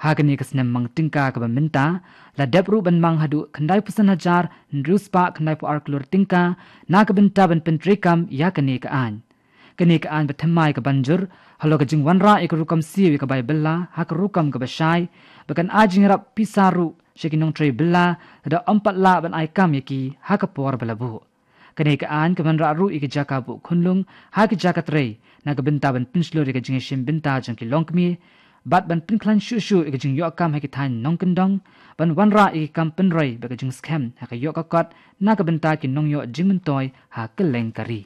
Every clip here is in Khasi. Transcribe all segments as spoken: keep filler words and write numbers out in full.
Ha kane ka snem mang tyngka kaba mynta, la dep ruh ban mang haduh khyndai phew san hajar hynriew spah khyndai phew ar klur tyngka na ka bynta ban pyntreikam ïa kane ka aiñ. Kane ka aiñ ba thymmai ka ban jur halor ka jingwanrah ïa ka rukom siew ïa ka bai bylla ha ka rukom kaba shai, ba kan ai jingïarap pisa ruh sha ki nongtrei bylla, lada ym pat lah ban ai kam ïa ki ha ka por ba la buh. Kane ka aiñ ka wanrah ruh ïa ki jaka buh khunlung ha ki jaka trei na ka bynta ban pynshlur ïa ka jingïashim bynta jong ki longkmie, bad ban pynkhlaiñ shuh shuh ïa ka jingïoh kam ha ki thaiñ nongkyndong, ban wanrah ïa ki kam pynroi bad ka jingskhem ha ka ïoh ka kot na ka bynta ki nongïoh jingmyntoi ha kylleng ka ri.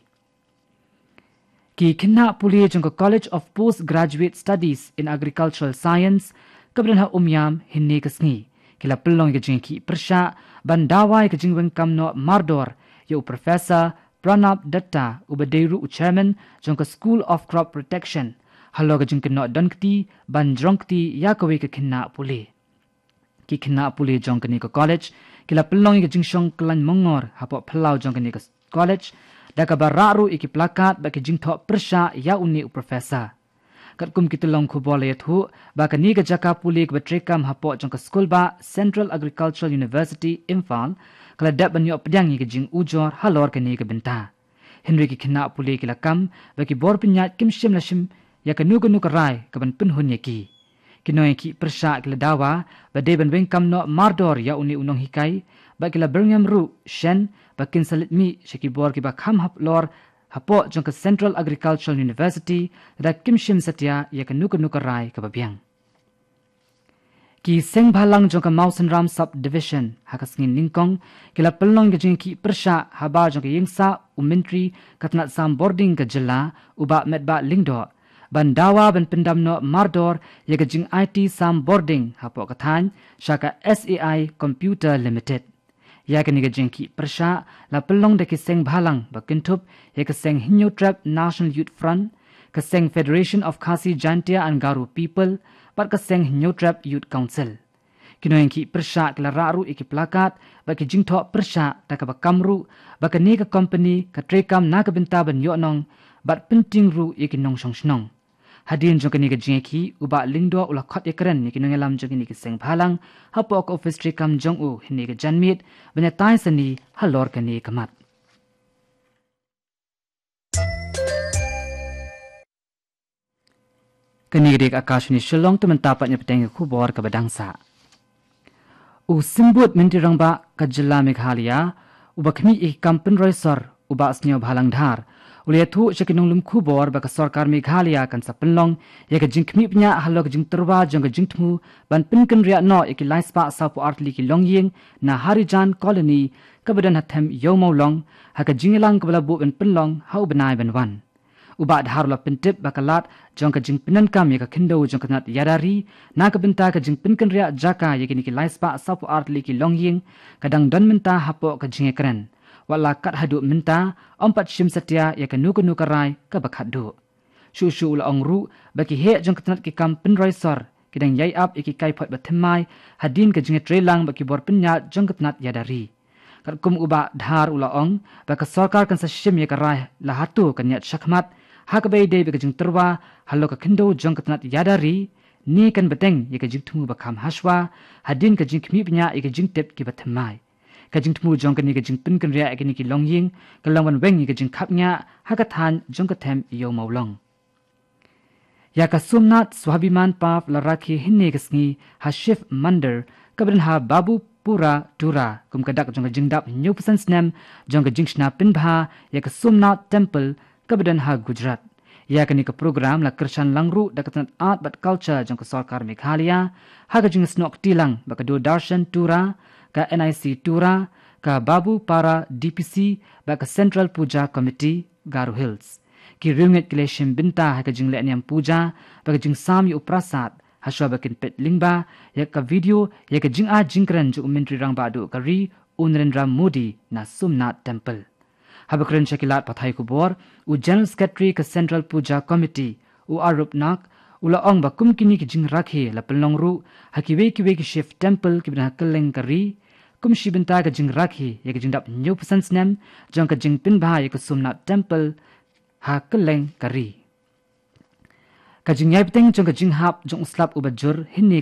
Ki khynnah pule jong ka College of Postgraduate Studies in Agricultural Science kaba don ha Umiam hynne ka sngi ki la pynlong ïa ka jingïakhih pyrshah ban dawa ïa ka jingweng kam noh mardor ïa u Professor Pranab Dutta, uba dei ruh u Chairman jong ka School of Crop Protection, halor ka jingkynnoh don kti ban jrong kti ïa kawei ka khynnah pule. Ki khynnah pule jong kane ka college ki la pynlong ïa ka jingshong kyllain mongor hapoh phyllaw jong kane ka college, da kaba rah ruh ïa ki placard bad ki jingthoh pyrshah ïa une u professor. Katkum ki tyllong khubor la ïathuh ba kane ka jaka pule kaba treikam hapoh jong ka skulbah Central Agricultural University Imphal ka la dep ban ïoh pdiang ïa ka jingujor halor kane ka bynta. Hynrei ki khynnah pule ki la kam ba ki bor pynïaid kim shym la shim ïa kano kano ka rai kaban pynhun ïa ki. Ki nongïakhih pyrshah ki la dawa ba dei ban weng kam noh mardor ïa une u nonghikai, bad ki la byrngem ruh shen ba kin sa leit mih sha ki bor kiba kham halor hapoh jong ka Central Agricultural University lada kim shim satia ïa kano kano ka rai kaba biang. Ki seng bhalang jong ka Mawsynram Subdivision ha ka sngi nyngkong ki la pynlong ka jingïakhih pyrshah habar jong ka ïingsah u Myntri ka tnat sam bording ka jylla, u Bah Metbah Lyngdoh, ban dawa ban pyndam noh mardor ïa ka jingaiti sam bording hapoh ka thaiñ sha ka S A I Computer Limited. Ïa kane ka jingïakhih pyrshah la pynlong da ki seng bhalang ba kynthup ïa ka seng Hynñiewtrep National Youth Front, ka seng Federation of Khasi Jaintia and Garo People, bad ka seng Hynñiewtrep Youth Council. Ki nongïakhih pyrshah ki la rah ruh ïa ki placard bad ki jingthoh pyrshah da kaba kam ruh ba kane ka company ka treikam na ka bynta ban ïohnong bad pyntieng ruh ïa ki nongshong shnong. Hadien jong kane ka jingïakhih, u Bah Lyngdoh u la khot ïakren ïa ki nongïalam jong kine ki seng bhalang hapoh ka ophis treikam jong u hynne ka janmiet ban ïatai sani halor kane ka mat. Kane ka dei ka Akashvani Shillong, te mynta pat ngin ïa bteng ïa ka khubor kaba dang sah. U Symbud Myntri Rangbah ka jylla Meghalaya uba khmih ïa ki kam pynroi sor, u Bah Sniawbhalang Dhar, u la ïathuh sha ki nonglum khubor ba ka sorkar Meghalaya kan sa pynlong ïa ka jingkhmih bniah halor ka jingtyrwa jong ka jingthmu ban pynkynriah noh ïa ki lai spah saw phew ar tylli ki longïing na Harijan Colony kaba don ha them Ïew Mawlong, ha ka jingïalang kaba la buh ban pynlong ha u bnai ban wan. U Bah Dhar u la pyntip ba ka lad jong ka jingpyndonkam ïa ka khyndew jong ka tnat ïada ri na ka bynta ka jingpynkynriah jaka ïa kine ki lai spah saw phew ar tylli ki longïing ka dang don mynta hapoh ka jingïakren, wat la kat haduh mynta ym pat shim satia ïa kano kano ka rai kaba khatduh. Shuh shuh u la ong ruh ba ki heh jong ka tnat ki kam pynroi sor ki dang ïai ap ïa ki kaiphod ba thymmai hadien ka jingïatreilang bad ki bor pynïaid jong ka tnat ïada ri. Katkum u Bah Dhar u la ong ba ka sorkar kan sa shim ïa ka rai la hato kan ïaid shakhmat ha kaba ïadei bad ka jingtyrwa halor ka khyndew jong ka tnat ïada ri, ne kan bteng ïa ka jingthmu ba kham hashwa hadien ka jingkhmih bniah ïa ka jingtip kiba thymmai. Ka jingthmu jong kane ka jingpynkynriah ïa kine ki longïing ka long ban weng ïa ka jingkhapngiah ha ka thaiñ jong ka them Ïew Mawlong. Ïa ka Somnath Swabhiman Parv la rakhe hynne ka sngi ha Shiv Mandir kaba don ha Babupara, Tura, kum ka dak jong ka jingdap hynñiew phew san snem jong ka jingshna pynbha ïa ka Somnath Temple kaba don ha Gujarat. Ïa kane ka program la kyrshan lang ruh da ka tnat Art bad Culture jong ka sorkar Meghalaya, ha ka jingsnoh kti lang bad ka Doordarshan Tura, ka N I C Tura, ka Babupara D P C bad ka Central Puja Committee Garo Hills. Ki riewngeit ki la shim bynta ha ka jingleh niam puja bad ka jingsam ïa u prasad hashwa ba kin peit lyngba ïa ka video ïa ka jingai jingkren jong u Myntri Rangbah Duh ka ri, u Narendra Modi, na Somnath Temple. Haba kren sha ki lad pathai khubor, u General Secretary ka Central Puja Committee, u Arup Nag, u la ong ba kum kine ki jingrakhe la pynlong ruh ha kiwei kiwei ki Shiv Temple kiba don ha kylleng ka ri, kum shi bynta ka jingrakhe ïa ka jingdap hynñiew phew san snem jong ka jingpynbha ïa ka Somnath Temple ha kylleng ka ri. Ka jingïai bteng jong ka jinghap jong u slap uba jur hynne ka